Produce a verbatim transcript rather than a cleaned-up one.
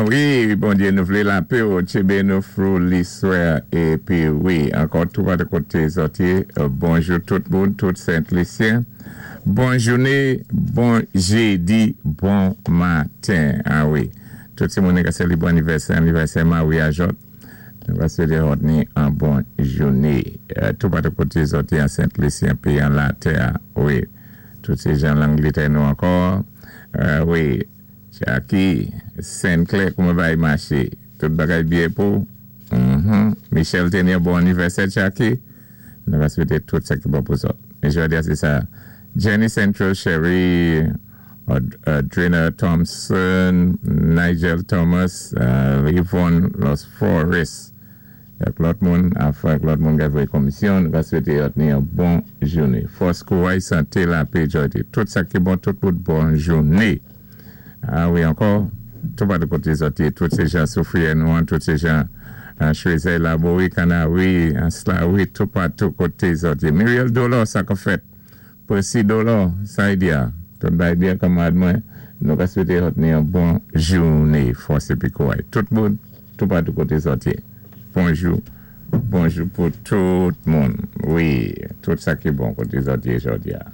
A wi, Bondyé, nou vlé lapè ou tjinbé nou fwou liswè épi wi, ankò tou patou koté zòt yé. Bonjou tout moun, tout Sent Lisyen. Bon jouné, bon jédi, bon maten. A wi, tout ti moun ka sélibré anivèsè, anivèsè maryaj. Nou va swété zòt ni an bon jouné. Tou patou koté zòt yé an Sent Lisyen pi an latè. Wi, tout sé jan Langlétè nou ankò. Wi, Jackie, Saint-Clair, kouman bagay maché? Tout bagay byen pou? Michel té ni bon anivèsè, Jackie. Nou va swété tout sa ki bon pou zòt. É jòdi a sé sa. Jenny Central Sherry, Adrena Thompson, Nigel Thomas, Yvonne Los Forest. Ak lòt moun, afè lòt moun ki voyé komisyon, nou va swété ni an bon jouné. Fòs, kouray, santé, lapè, jòdi. Tout sa ki bon, tout moun bon jouné. A wi, ankò, tou patou koté zòt yé, tout sé jan Soufrière nou an, tout sé jan Choisey, Laborie, Canary, Slawi, tou patou koté zòt yé. Muriel Dolor, sa ka fèt. Presi Dolor, sa y di a. Tout bay byen kanmad mwen, nou ka swété zòt ni an bon jouné, fòs épi kouray. Tout moun, tou patou koté zòt yé. Bonjou, bonjou pou tout moun. Wi, tout sa ki bon koté zòt yé jòdi a.